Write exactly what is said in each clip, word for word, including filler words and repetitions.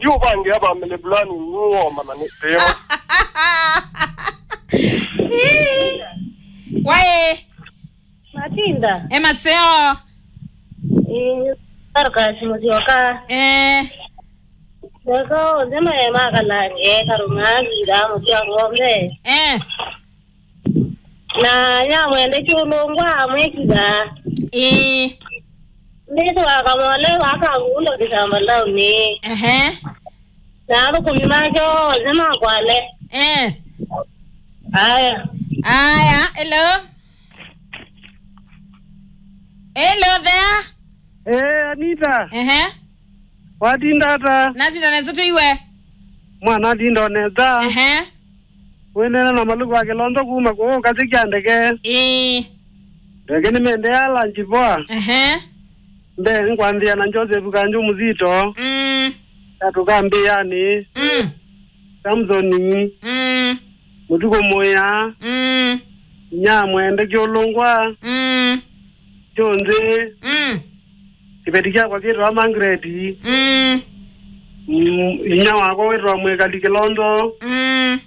Yu ũvangĩa family planning nũwoma na nĩ teo. Ii. Waĩ. Matinda. E maseo. Ĩĩ, Dorcas Mũsyoka. Eh. Maseo onthe maye makalange karũng'angitha mũtya ng'ombe. Eh. Na nyamwende kyũlũngwa amwĩkitha. Ĩĩ. Ndĩtwa kamole wakagundo kĩsamba launĩ. Ehe. Na athũkũmi make onthe makwale. Eh. Aya. Aya, hello. Hello there. Eh, Anita. Ehe. Watinda ata? Natinda nesa tu iwe. Mwana atinda nesa. Ehe. Wĩnena na Maluku wa Kĩlonzo kuma kũũ katĩ kya ndeke. Ĩĩ. Ndeke nĩmendea lunch poa. Ehe. Mbee nkwambĩa na Joseph Kanju Mũzito. Mm. Katũkambĩanĩ. Mm. Samsoni. Mm. Mũtuku mũya. Mm. Nyamwende kyũlũngwa. Mm. Kyonzĩ. Mm. Kĩveti kyakwa kĩtawa Margaret. Mm. Mm, inya wakwa wĩtawa Mwĩkali Kĩlonzo. Mm.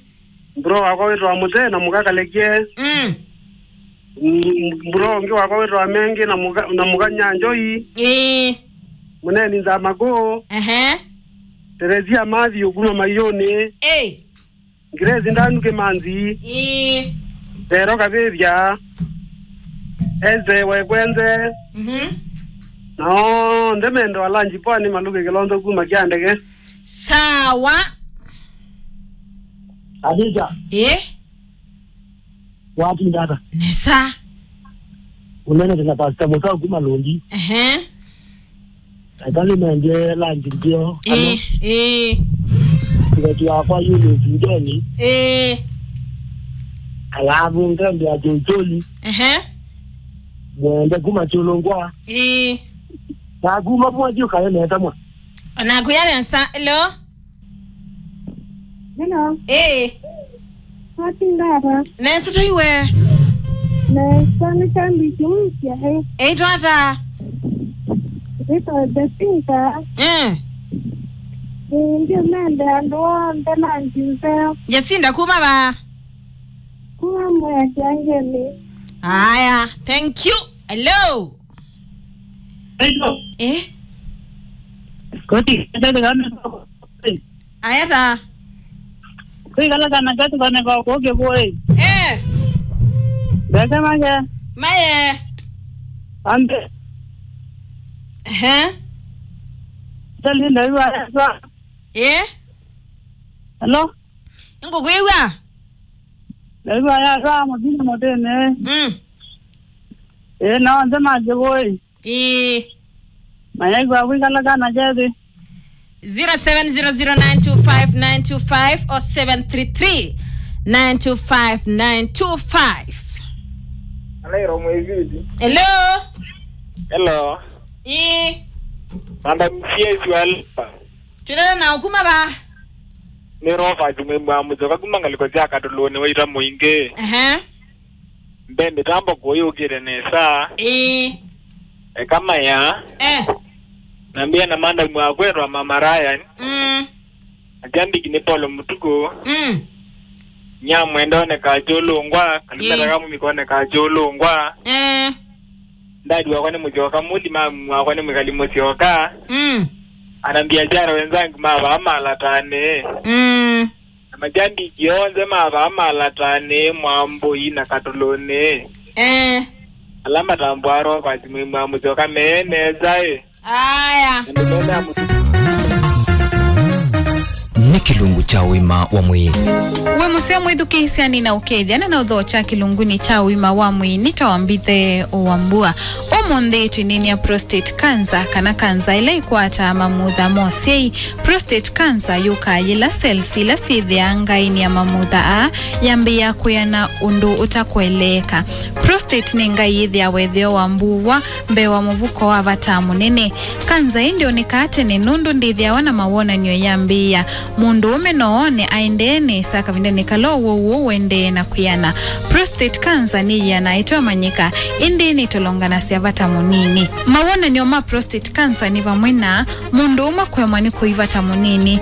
Mbro wakwa wĩtawa Mũte na Mũka Kalekye. Mm. Mm, mbro ũngĩ wakwa wĩtawa Mengi na Mũka, na Mũka Nyanjoi. Ĩĩ. Mũneni Nzamakũ. Ehe. Teresia Mathi ũkuma Maiũnĩ. Ĩĩ. Grace Ndanu Kĩmanzi. Ĩĩ. Vero Kavĩvya. Eze Wekwenze. Mhm. Na onthe mendo alanji poa nĩ Maluku Kĩlonzo kuma kya ndeke. Sawa. Adija. Ĩĩ. Watinda ata? Nesa. Ũnenete na Pastor Mũtau kuma Lũndi. Ehe. Eka nĩmendie lunch ndio. Ĩĩ, ĩĩ. Mwetu wakwa Eunice Njoni. Ĩĩ. Alafu ngende ya Joitoli. Ehe. Mwende kuma Chulungwa. Ĩĩ. Na kuma mwathi ũkaye nesa mwa. Ona kuya nesa. Hello. Hello. Eh. Watinda ata? Nesa tu iwe. Nesa nĩ shabiki mpya, eh. Eitwa ata? Ĩtwa Jacinta. Eh. Ĩĩ, ndio mende andũ onthe na njinzeo. Jacinta kuma va? Kuma Mwea Kiangeni. Aya, thank you. Hello. Hello. Eh? Koti, koti, koti. Aya ta. Kwĩkala kana kati kone kwa kũkĩ kũĩ. Eh. Ndeke make. Maye. Ambe. Ehe. Tali ndaiwa yatwa. Eh? Hello? Ngũkwĩw'a? Ndaiwa yatwa mũthini mũtĩnĩ. Mm. Eh, na onthe makĩvũĩ. Ĩĩ. Mayaigua kwĩkala kana kethĩ. Zero seven zero zero nine two five nine two five or seven three three nine two five nine two five. Alairo mwĩviti. Hello. Hello. Ĩĩ. Madam C S wa Lipa. Twĩnena na ũkuma va? Nĩ Robert Mwĩmwa Mũsyoka kuma ngalĩko sya Katũlũnĩ wa ita mũingĩ. Ehe. Mbe mĩtambo kũyũkĩte nesa. Ĩĩ. Eka maya. Eh. Na mbia na mandamu akwetwa Mama Ryan. Mm. Atambiki nĩ Paulo Mũtuku. Mm. Nyamwenda oneka Chulungwa, Kalimera Ĩĩ. Kamumi koneka Chulungwa. Eh. Ndadi wakwa nĩ Mũsyoka, Muli mamu wakwa nĩ Mwĩkali Mũsyoka. Mm. Ana biashara wenzangu mavaa malatane. Mm. Na majambiki onthe mavaa malatane Mwambũi na Katũlũnĩ. Eh. Ala matambwa Robert Mwĩmwa Mũsyoka me nesa ĩ. Aya. Na mĩthenya ya mũtuku. Nĩ kĩlungu kya ũima wa mwĩĩ. Wĩ mũseo mwĩthukĩĩsya nĩ na ũkethya na na ũthokya kĩlungunĩ kya ũima wa mwĩĩ nĩ ta wambithe wa mbua. Ũmũnthĩ twĩnĩnĩa prostate cancer, kana kanza ĩla ĩkwataa mamutha ma ũsyai. Prostate cancer yũkaa yĩla cells ila syĩthĩaa ngaĩnĩ ya mamutha aa yambĩĩa kwĩana ũndũ ũtakũeleeka. Prostate nĩ ngai yĩthĩawa ĩtheo wa mbuwa mbee wa mũvuko wa vata mũnene. Kanza ĩĩ ndyonekaa tene nũndũ ndĩthĩawa na mawonany'o yambĩĩa. Mũndũũme no one aendee nesa kavindanĩ kala ũwau ũũ ũendee na kwĩana. Prostate cancer nĩyĩanaa ĩteũmanyĩka, ĩndĩ nĩtolonganasya vata mũnini. Mawonany'o ma prostate cancer nĩ vamwe na mũndũũme kũemwa nĩ kũi vata mũnini,